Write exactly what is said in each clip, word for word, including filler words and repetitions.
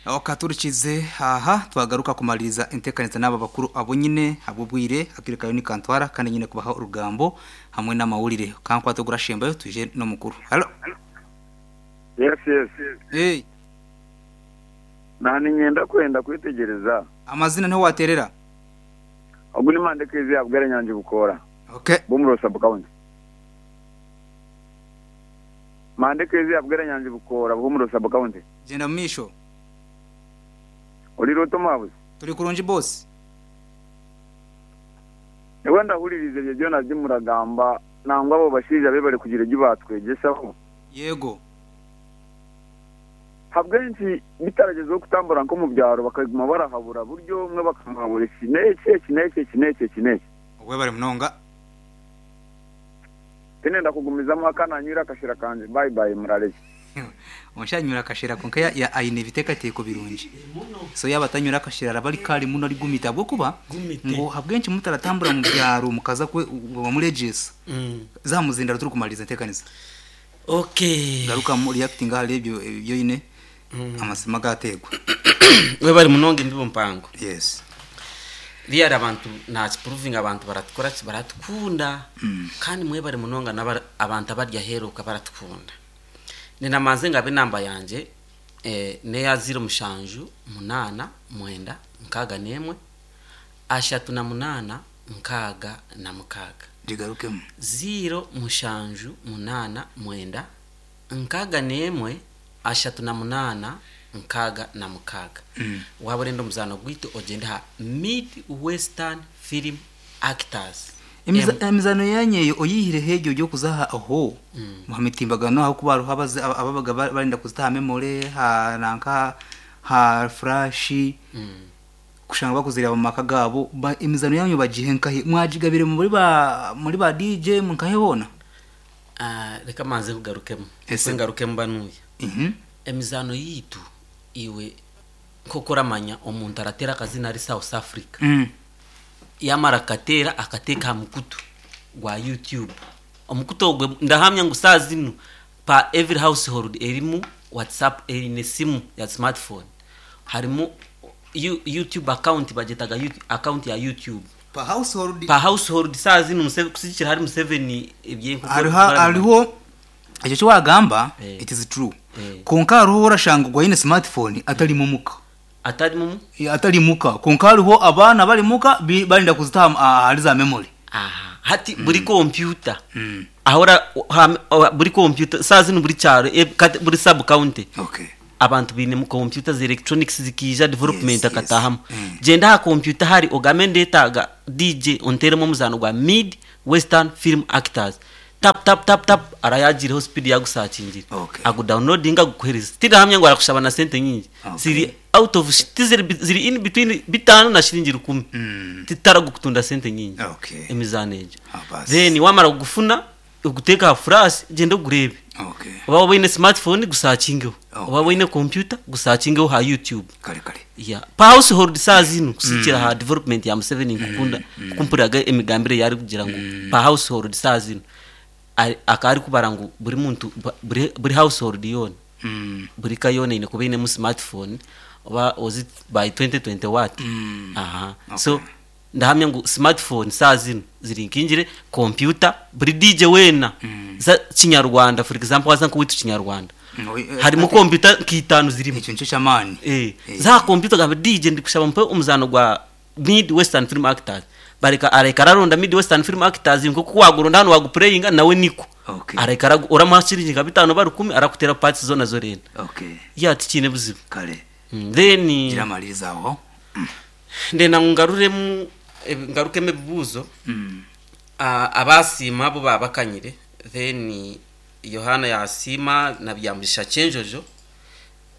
Okaturikize aha twagaruka kumaliriza entekanisa n'aba bakuru abo nyine habw'obwire akirekayo ni kantwara kandi nyine kubaha orugambo hamwe n'amawulire kankwate ogurashembayo twije n'omukuru. Hello. Yes, yes. Hey, Nani nyenda kwenda kwitegereza. Amazina niho waterera. Ogu ni Mandekezi yabwera Nyanje Bukora. Okay. Bumuro sub county. Mandekezi yabwera Nyanje Bukora Bumuro sub county. Genda misho. Oli roto mabuzi. Turi kurungi boss. Ewe ndahuririze ebyo byona by'umuragamba nangwa abo bashija be bari kugira ibyo batwegesaho. Yego. Habwenki bitaragezeho kutambura nko mu byaro bakaguma barahabura buryo umwe bakamuhabura iki n'eki eki n'eki eki n'eki eki n'eki. Obwe bari munonga. Tinenda kugumizamu akananyura akashira kanje bye bye murareke. Onshanyura akashira konka ya, ya aine ebiteekateeko birungi. So yaba atanyura akashira araba ari kari muno ari gumita habwokuba Gumite. ngo habwenki mutaratambura mu byaro mukaza kwe bamuregesa. Mm. Zamuzindara turi kumaliriza entekanisa. Okay. Garuka mu reacting ahari ebyo ebyo yine amasima gategwa. We bari munonga imbibo mpango. Yes. Riyari abantu nakiprovinga abantu baratukora ki baratukunda. Kandi mwe bari munonga n'aba- abantu abarya heruka baratukunda. Ninamanze ngabe namba yanje eh, neya ziro mushanju munana mwenda nkaga nemwe ashatu na munana nkaga na mukaga. Ndigarukemo. Ziro mushanju munana mwenda nkaga nemwe ashatu na munana nkaga na mukaga. Mm. Waba orenda omuzaano gwaitu ogyende ha Mid Western Film Actors. Emiza- Emizano yanyu eyo oyihireho egyo gyokuzaha aho mu mitimbagano aho kuba hariho abaze- aba- ababaga ba- barinda kuzitaha memory ha nanka ha flash Mm. kushanga bakuzireba mu maka gabo ba, emizano yanyu bagihe nkahe mwagigabire muri ba muri ba D J munkahe hona. Ah, reka manze kugarukemu. Ese. Ngarukemu banuya. Mhm. Emizano yitu iwe nkokoramanya omuntu aratera akazina ari South Africa. Mm. Yamara akatera akateka mukutu gwa YouTube. Omukutu ogwe ndahamya ngu saa zinu pa every household erimu WhatsApp erine simu ya smartphone. Harimu You-, YouTube account bagetaga YouTube, account ya YouTube. Pa household Pa household saa zinu Museveni kusikira hari Museveni ebye hariho hariho ekyo kyo wagamba Eh. it is true. Eh. Konka hariho orashanga gwa ine smartphone atari mu muka. Atari mu Atari muka konka hariho abana bari muka bi-, barinda kuzitaha ahari za memory. Aha hati mm. buri computer Mm. ahora ha, buri computer saa zinu buri cyaro e, kati, buri sub county. Okay. Abantu bine mu computer za electronics zikija development Yes, yes. akatahamu. Mm. Genda ha computer hari ogamende taga D J onteremo muzano gwa Mid Western Film Actors. Tap tap tap tap arayagireho speed yagusakingira. Okay. Agu downloadinga gukohereza. Tirahamya ngo arakushaba na sente nyingi. Okay. Ziri out of ziri, ziri in between bitanu na shilingi rukumi. Mm. Titara gukutunda sente nyingi. Okay. Emizano egyo. Ah, basi. Then wamara kugufuna uguteka flash genda ugurebe. Okay. Oba wine smartphone gusakingeho. Okay. Oba wine computer gusakingeho ha YouTube. Kare kare. Yeah. Pa household saa zinu kusikira mm. ha development ya Museveni nkukunda mm. kumpuraga emigambire yari kugira ngo mm. pa household saa zinu akari kubara ngo buri muntu buri, buri household yone. Mm. Buri kayone ine kuba ine mu smartphone oba was it by twenty twenty what? Mm. Aha. Okay. So ndahamya ngo smartphone saa zinu ziri nkingire computer buri D J wena mm. za Kinyarwanda for example waza nko witu Kinyarwanda. Mm, eh, harimo computer kitanu zirimo. Icyo nicyo cyamani. Eh, Eh. za computer ga D J ndi kushaba mpe umuzano gwa Mid Western Film Actors. Bareka areka araronda Mid Western Film Actors nko kuwagurunda hano waguplayinga nawe niko. Okay. Areka aragu-, uramuhashirije nka bitanu bari kumi arakutera parts zona zorena. Okay. Ya tikine buzibu. Kare. Mm, then Gira amaliriza aho. Ndena ngaruremu ngarukeme bibuzo. Mm. Uh, abasima bo babakanyire then Yohana yasima na byambisha chenjojo.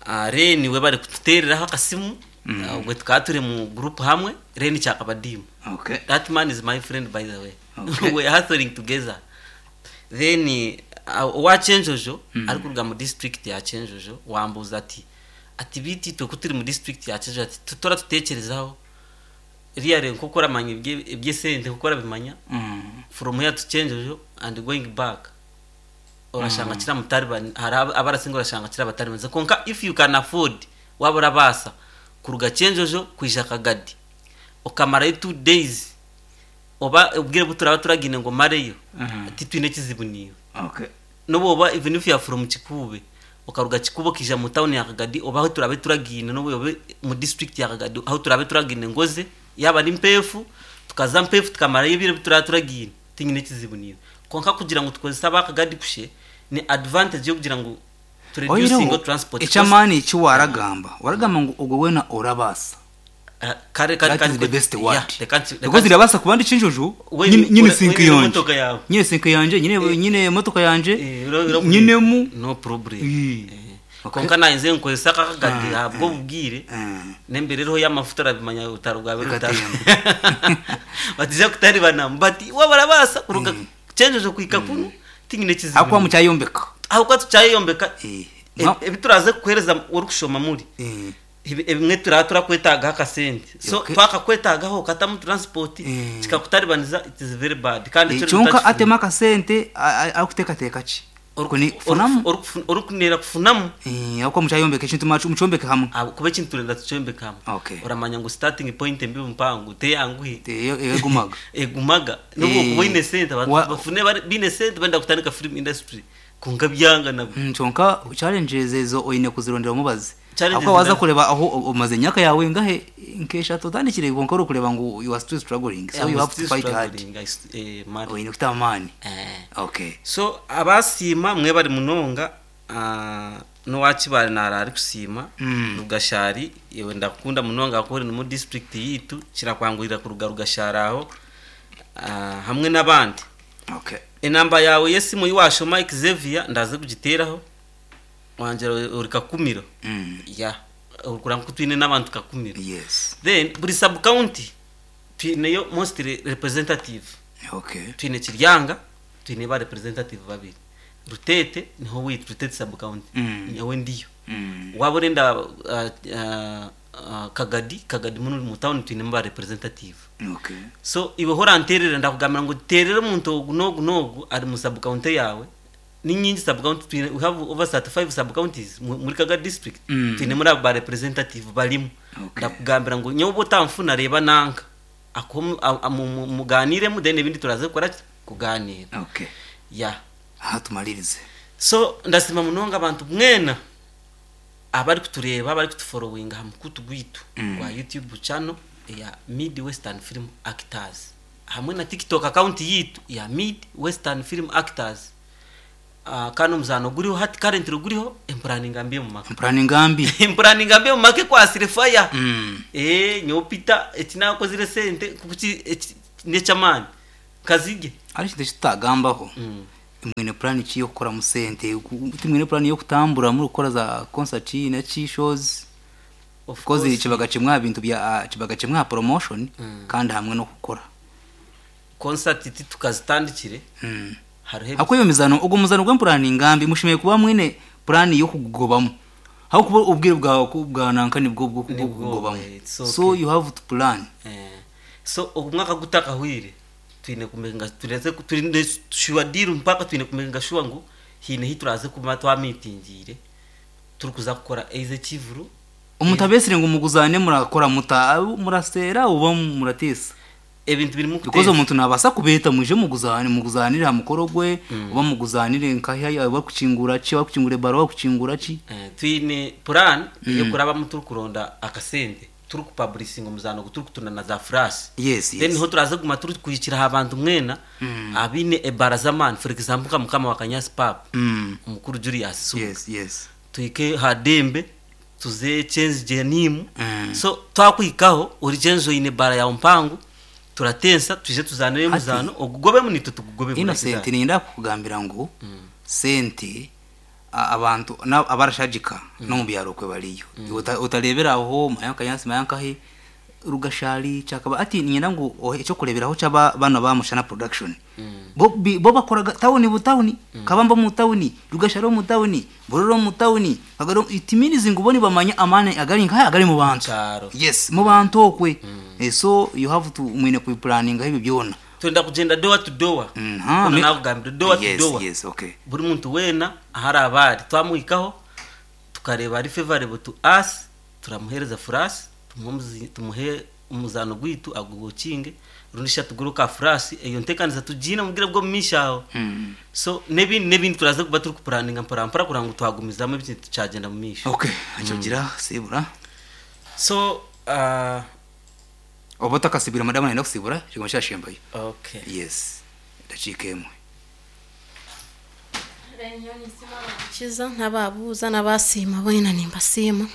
Uh, Reni we bari kututereraho akasimu. Mm. Uh, ubwo twature mu group hamwe Reni cyakabadimu. Okay. That man is my friend by the way. Okay. We are hustling together. Then uh, wa chenjojo Mm. ari kuruga mu district ya chenjojo wambuza ati ati biti twe kuturi mu district ya chenjojo ati tutora tutekerezaho riyare nko ramanya ibye sente kuko rabimanya. Mm. From here to chenjojo and going back. Urashanga kira mutari hari abarasinga urashanga kira batari banze konka if you can afford Wabura basa kuruga Kyenjojo kwija Kagadi okamarayo two days oba obwire buturaba turagine ngo mareyo Mhm. titwine kizibu niwe. Okay. Nobu oba even if you are from Kikuube okaruga Kikuube okija mu town ya Kagadi oba aho turabe turagine, nobu obe mu district ya Kagadi aho turabe turagine ngoze yaba ari Mpefu tukaza Mpefu tukamarayo ebiro bituraba turagine tinyine kizibu niwe. Konka kugira ngu tukozesa aba Kagadi kushe ni advantage yo kugira ngu to reducing transport cost. Echamani eki waragamba waragamba ngu ogwe wena orabasa. Ah, kare kare That is the best word. Yeah, the country, the Because country. irabasa kuba ndi Kinjojo We- nyine nyine we- sinki we- yanje motoka yawe. nyine sinki yanje nyine Eh. nyine motoka yanje Eh, ura- ura- nyine mu no problem. Eh. Eh. Okay. Konka nayinze nkozesa Kakagadi ahabwo bubwire Eh. nembere riho y'amafuta arabimanya utaro bwawe rutaro Bikatemba. batija kutaribana bati wabarabasa kuruga Kyenjojo kuhika kuno tinyine kizibu Akuba mucyayombeka. aho kwa tucyayombeka. Eh. E- Ma- ebituraze kuhereza uri kushoma muri Eh. Ebi- ebimwe turaba turakwetagaho akasente so Okay. twakakwetagaho katamu transport Eh. kikakutaribaniza, it is very bad. Kandi Eh, ekyo kyonka tutakifuna. atema akasente akuteekateeka ki Ori- Kuni- ori- kufunamu ori- orikunera kufunamu. Eh, akuba mucyayombeka ekintu macu- mucyombeke hamwe. Abo- kuba ekintu turenda tucyombeka hamwe. Okay. Oramanya ngu starting point embi mpango teyanguhi. Te- egumaga. Egumaga nubwo Eh. kuba ine sente abantu Wa- bafune bari- bine sente benda kutandika film industry konka byanga nabwo. Mm, kyonka challenges ezo oyine kuzirondera omubazi. Challenges Akuba waza zina- kureba aho o- omaze emyaka yawe ngahe nk'eshatu otandikire konka ori kureba ngu you are still struggling, so I'm you have to still fight hard. struggling, I s- eh, man. Oyine kuta amaani. Eh. Okay. So abasiima mwe bari munonga, ah, n'owakibare nara ari kusiima. Mm. Rugashari iwe ndakunda munonga kuko uri mu district yitu kirakwangurira kuruga Rugashari aho, ah, hamwe n'abandi. Okay. Enamba yawe yesimu yiwashoma Xavier ndaze kugiteraho wanjera uri Kakumiro. Mm. Ya urikura nko twine n'abantu Kakumiro. Yes. Then buri sub county twineyo most re- representative. Okay. Twine Kiryanga twine ba representative babiri, Rutete niho witwa Rutete sub county. Mm. Niho ndiyo. Mm. Waba urenda uh, uh, uh, Kagadi Kagadi muno mu town twine ba representative. Okay. So iwe hora nterera ndakugambira ngo terere omuntu ogu n'ogu n'ogu ari mu sub county yawe. Ni nyingi sub county twine, we have over thirty-five sub counties mu- muri Kagadi district. Mm. Twine muri abo ba representative barimo. Okay. Ndakugambira ngo nyowe uba utamfuna reba nanka ako muganiremu then ibindi turaze gukora kuganira. Okay. Ya. Aha tumalirize. So ndasima munonga abantu mwena abari kutureba abari kutufollowinga ha mukutu gwitu Mm. gwa YouTube channel ya Mid Western Film Actors hamwe na TikTok account yitu ya Mid Western Film Actors. uh, kano muzano guriho hati currently guriho empuraninga mbi mu maka. Mpurani ngambi. Empuraninga mbi mu make kwasire fire. Mm. Eh, nyopita ekinakozire sente kuki nechamani kazige. Ari kintu kitagambaho. Mm. Mwine plan ki yo kukora mu sente mwine plan yo kutambura muri gukora za concert na chi shows? Of Kozi course. kibaga kimwe bintu bya kibaga kimwe promotion Mm. kandi hamwe no gukora Concert iti tukazitandikire. Mm. Hariho Ako iyo mizano ubwo muzano gw'empurani ngambi mushimiye kuba mwine plan yo kugobamo aho kuba ubwire bwawe ku- bwa nanka nibwo bwo Nibwo, kugobamo. eh, it's okay. So you have to plan. Eh, so omwaka gutakahwire twine kumenga tureze twine sure deal mpaka twine kumenga sure ngu hine hituraze kuma twamitingire turi kuza kukora eize kivuru. Omuntu abesire ngo muguzane murakora muta murasera uba muratesa. Ebintu biri mu Because kutesa. omuntu nabasa kubeta muje muguzane muguzanire ha mukoro gwe uba muguzanire nkahiya bakucingura ki bakucingure baro bakucingura ki. Eh, twine plan yo kuraba turi kuronda akasente turi kupublishing omuzano turi kutunda na za flash. Yes, then yes. niho turaze kuguma turi kuhikira abantu mwena abine ebara z'amani, for example nka mukama wa Kanyasi Pap, Mm. omukuru Julius Suga. Yes, yes. Tuhike hadembe tuze change jenimu. Mm. So twakwikaho uri change oine bara ya mpangu turatensa tuje tuzanire Ati- muzano ogugobemu nitwe tugugobemu. Innocent ninda kukugambira ngu sente a- abantu na- abarashajika no mu byaro kwe bariyo. Uta- utarebera aho mayanka yansi mayanka he Rugashari cyakaba ati nyina ngo ohe icyo kureberaho cyaba bana ba Mushana Production bo bi- bo bakoraga tawuni butawuni Kabamba mu tawuni Rugashari mu tawuni Buroro mu tawuni Kagaro it means ngo boni bamanya amane agari nka agari mu bantu. Cyaro. Yes, mu bantu okwe. Eh, so you have to mwine ku planning ibi byona. Twenda kugenda door to door. Mm, ha, Kuna me- nakugambira door to yes, door. Yes, okay. Buri muntu wena ahari abari twamuhikaho tukareba ari favorable to us. Turamuhereza furasi, tumuhe omuzi- tumuhe omuzano gwitu agugukinge, rundi shatuguru ka furasi eyo ntekanisa tugiine mubwire bw'omumaisho aho. Mm. So n'ebindi n'ebindi turaza kuba turi kupuraninga mpora mpora kugira ngu twagumizamu ebintu tukyagenda mu maisho. Okay, akyogira sibura. So uh, Oba otakasibira, madamu nayenda kusibura kigoma kyashembayo. Okay. Yes, dakiika emwe. Kiza n'ababuuza n'abasiima boona nimbasiima.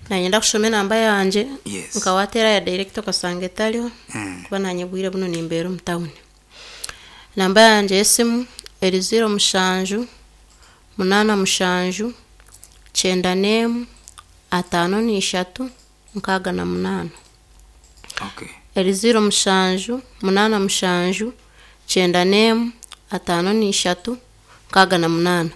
Nanyenda kushoma enamba yangye. Yes. Nkawateera ya direct okasanga etariho, Mm. kuba nanye bwire buno nimbeera omu tawuni. Namba yangye y'esimu eri ziro mushanju munaana mushanju kyenda n'emwe ataano n'ishatu nkaaga na munaana. Okay. Eri ziro mushanju munaana mushanju kyenda n'emwe ataano n'ishatu nkaaga na munaana.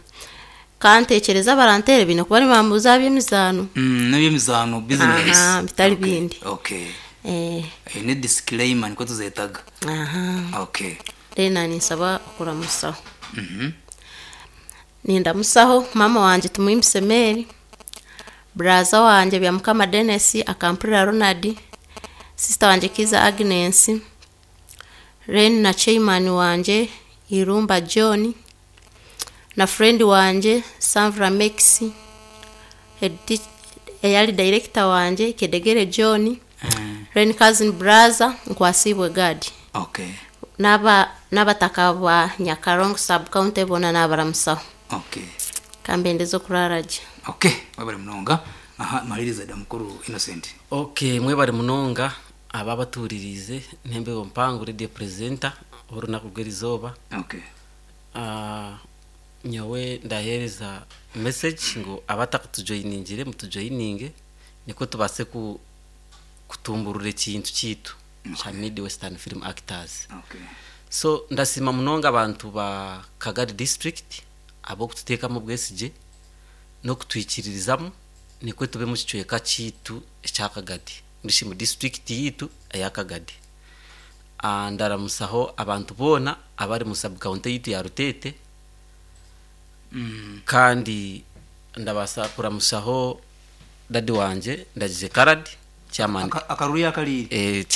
Kantekyereza abaranteere biine kuba nibambuuza aha by'emizaano. Mm, n'ebyemizaano, business. Aha, bitari Okay, bindi. Okay. Eh, Eyo ni disclaimer, niko tuzetaga. Aha. Okay. Rero ninsaba okuramusaho. Mhm. Nindamusaho mama wanje Tumuhimbise Mary, braza wanje Byamukama Denis akampurira Ronald, sister wanje Kiza Agnes, ren na chairman wanje Irumba John, na friend wanje Sanvra Maxi, head teach- eyali director wanje Kedegere John, Mm. ren cousin brother Nkwasibwe Gadi, Okay. n'aba n'abataka ba Nyakarongo sub county bona n'abaramusaho. Okay. Kambendeza okurara gye. Okay, wabale munonga. Aha, maliriza da mukuru Innocent. Okay, mwebare munonga aba abaturirize ntembe mpango radio presenter orunaku rw'erizooba. Okay. Ah, nyowe ndahereza message ngu abatakatujoyiningire mutujoyininge, niko tubase ku kutumburura ekintu kiitu kya Mid Western Film Actors. Okay. So ndasima munonga abantu ba Kagari district abokututeekamu obwesigye n'okutwikiririzamu nikwe tube mu kicweka kiitu ekya Kagadi, ndishi mu district yitu eya Kagadi. Ah, ndaramusaho abantu boona abari mu sub county yitu ya Rutete. Mm. Kandi ndabasa kuramusaho dadi wanje Ndagize Karadi, chairman. Aka- akaruru yakalire. Eh,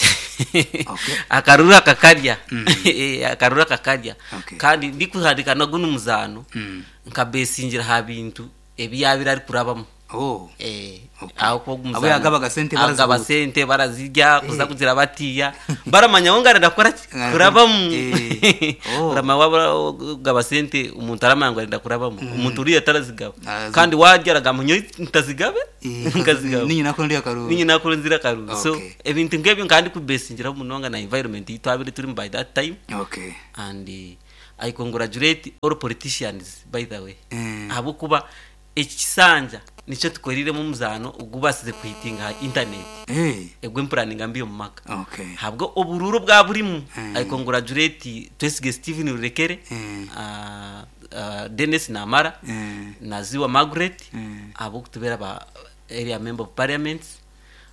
Okay. akaruru akakarya. Mm. Eh, akaruru akakarya. Okay. Kandi ndikuhandika naguno muzaano, Mm. nkabesingira ha bintu ebyabire ari kurabamu. Oh. Eh, Okay. aho kuba Abo yagabaga sente agaba barazihuta. sente barazirya kuza kugira batiya baramanya ngo ngarenda kora ki? Kurabamu. Eh. Oh. Urama waba ugaba sente, umuntu aramanya ngo arenda kurabamu, umuntu uriya atarazigaba. Arazi- Kandi waryaraga munyo ntazigabe, Eh, nkazigaba. Ninyi nako ndi akaruru. Ninyi nakuru nzira karuru. So Okay. ebintu nk'ebyo kandi kubesingira munonga na environment yitwabire turi by that time. Okay. And uh, I congratulate all politicians, by the way, Mm. ahabwokuba eki kisanja nicyo tukoriremu omuzaano ogubasize kuhitinga ha internet, Hey. egwempuraninga mbi omu maka. Okay. Habwo obururu bwa burimu. Mm. I congratulate Twesige Stephen Rurekere, Mm. uh, uh, Dennis Namara, Mm. Naziwa Margaret, Mm. abokutubera ba area member of parliament,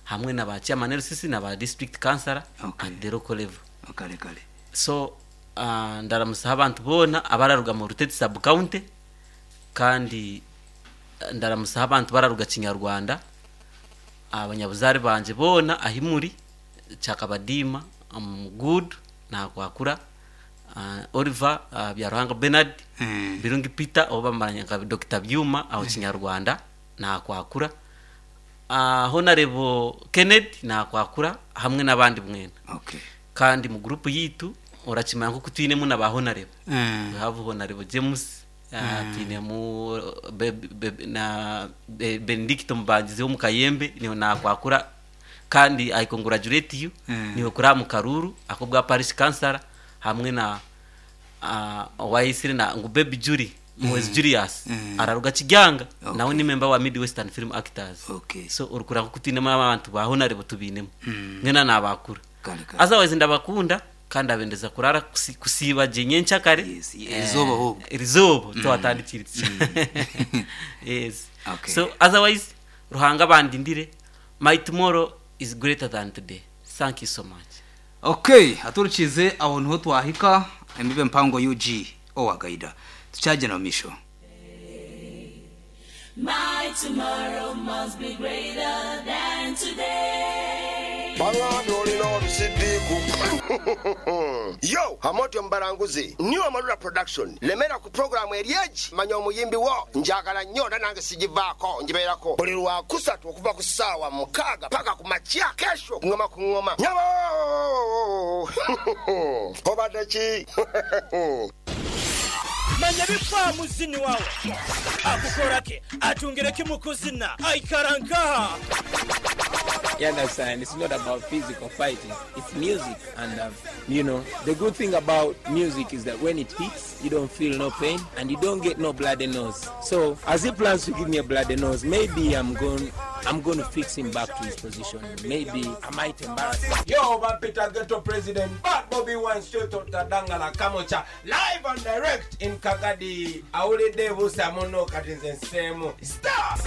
hamwe na ba chairman L C C na ba district councillor Okay. at the local level. Kale kale. So uh, ndaramusaho abantu boona abararuga mu Rutete sub county, kandi eh, ndaramusaho abantu bararuga Kinyarwanda, abanyabuzare banje boona ahimuri Kyakabadiima, um, good nakwakura uh, Oliver, uh, Byaruhanga Bernard, Mm. Birungi Peter oba bamaranya nka Doctor Byuma aho Kinyarwanda nakwakura, uh, Honorable Kennedy nakwakura, hamwe n'abandi mwena. Okay. Kandi mu group yitu orakimanya nkuko twinemu na ba honorable. Mm. We have Honorable James, uh, twinemu be, be, na be, Benedicto Mubangizi wo mu Kayembe niwe nakwakura, kandi I congratulate you. Mm. Niwe kuri mu Karuru ako bwa parish councilor, hamwe na uh, wayisire na ngu Baby Julie Muhwezi Julius, Mm. araruga Kijanga. Okay. Nawe ni member wa Mid Western Film Actors. Okay. So urukura nkuko twinemu abantu ba honorable tubinemu, Mm. mwena nabakura. Kale kale. Otherwise ndabakunda kandi abendeza kurara kusi- kusiba gye nyenkyakare. Yes, erizoba ahubwo. Erizoba twatandikiritse, yes. Okay. So otherwise Ruhanga bandindire, my tomorrow is greater than today. Thank you so much. Okay, aturukize aho niho twahika embibe mpango U G owagaida tukyagenda mu misho. My tomorrow must be greater than today. Bangambye olina olusidiku. Yo amotyo mubalanguzi new Amarula Production lemera ku programu eryeji manya omuyimbi wo njagala nnyo era nange sigivaako ngibeerako buli lwakusatu okuva ku ssaawa mukaaga paka ku makya kesho ngoma ku ngoma nyabo obadde ki? Manya bifa muzini wawe akukorake atungireke mukuzina aikarankaha. You understand? It's not about physical fighting. It's music. And, um, you know, the good thing about music is that when it hits, you don't feel no pain and you don't get no bloody nose. So, as he plans to give me a bloody nose, maybe I'm going, I'm going to fix him back to his position. Maybe I might embarrass him. Yo, Peter Ghetto President, Bad Bobby Wine, straight out Dangala Kamocha, live and direct in Kagadi. Aule Devu Samono Katinzen Semu. Stop!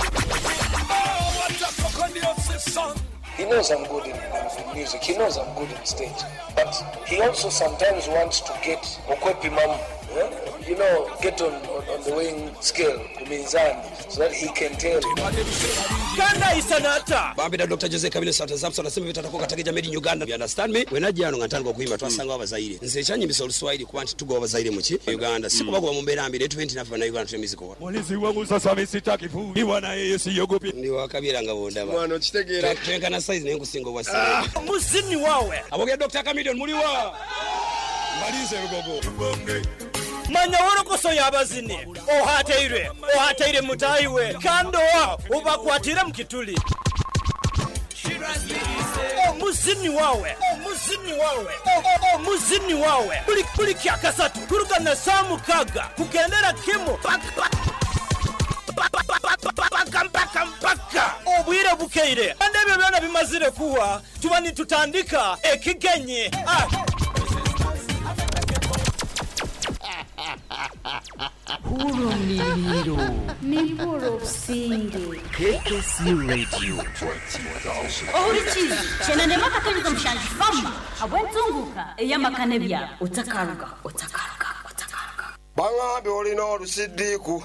Oh, what a fucking song! He knows I'm good in, in, in music. He knows I'm good in stage. But he also sometimes wants to get okwepimam, yeah? You know, get on, on, on the weighing scale, kuminzani, so that he can tell. Kanda isanata. Bambida Doctor Jose Kabile Santa Samson asema bitatakuwa katika jamii in Uganda. You understand me? Wenajja nga ntandika okuimba twasanga abazaire. Nze ekyanyimbisa Oluswahili kuba nti tugoba abazaire mu ki? Uganda. Si kuba kuba mu mbeera mbi, twenty naffe na Uganda tuli music wa. Mulizi wangu sasa mimi sitaki fuiwa na yeye siogopi. Ndi wakabira nga bondaba. Mwana okitegeera. Twenkana size naye nkusinga obwa size. Muzini wawe. Aboge Doctor Chameleone muliwa. Malize rugogo. Manya worokoso y'abazini ohateire ohateire mutayiwe kando wa ubakwatire mukituli omuzini wawe omuzini wawe omuzini wawe buli buli kyakasatu kuruga na saa mukaga kugendera kimu paka mpaka mpaka obwire bukeire kandi ebyo byona bimazire kuwa tuba nitutandika ekigenyi. Ah. Hurumliro Niburusinge K K C Radio Ohurikizi chenande makatoniza mushanji fama abwentunguka eyamakane bya otakaruga otakaruga otakaruga. Bangambye olina olusidiku.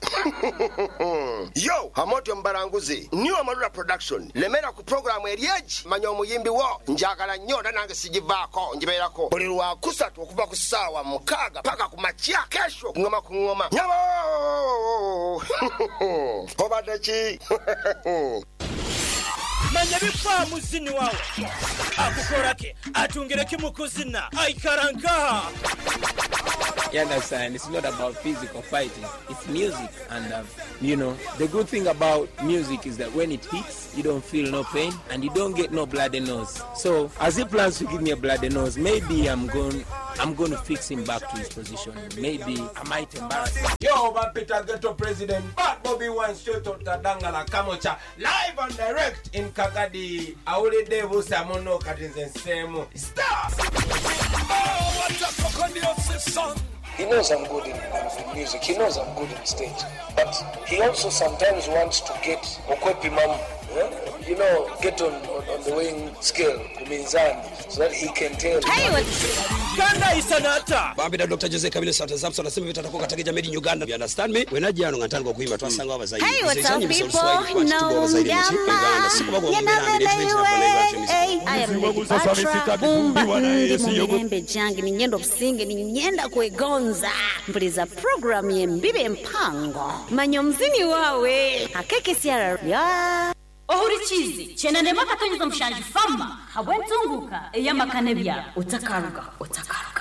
Yo amotyo mubalanguzi new Amarula Production lemera ku programu eryeji manya omuyimbi wo njagala nnyo era nange sigivaako ngibeerako buli lwakusatu okuva ku ssaawa mukaaga paka ku makya kesho ngoma ku ngoma nyabo obadde ki? Manya bifa muzini wawe akukorake atungireke mukuzina aikarankaha. You understand? It's not about physical fighting. It's music. And, um, you know, the good thing about music is that when it hits, you don't feel no pain and you don't get no bloody nose. So, as he plans to give me a bloody nose, maybe I'm going, I'm going to fix him back to his position. Maybe I might embarrass him. Yo, Peter Ghetto President, Bad Bobby Wine, straight out Dangala Kamocha, live and direct in Kagadi. Aule Devu Samono Katinzen Semu. Stop! Oh, what a fucking song! He knows I'm good in, in music. He knows I'm good in stage. But he also sometimes wants to get okwepimam, yeah? You know, get on, on, on the weighing scale, kuminzani, so that he can tell. Hey, Kanda isanata. Bambida Doctor Jose Kabile Santa Samson asema bitatakuwa katika jamii in Uganda. You understand me? Wenajja nga ntandika okuimba twasanga abazaire. Hey, what's up people? No, Uganda. Si kuba kuba mu mbeera mbi, twenty I am Lady Batra Bumba ndi mu mirembe gyange ninyenda obusinge ninyenda kwegonza mpuliza program y'embibe empango manya omuzini wawe akekesiara ya Ohurikizi chenande makatoniza mushanji fama habwentunguka eyamakane bya otakaruga otakaruga.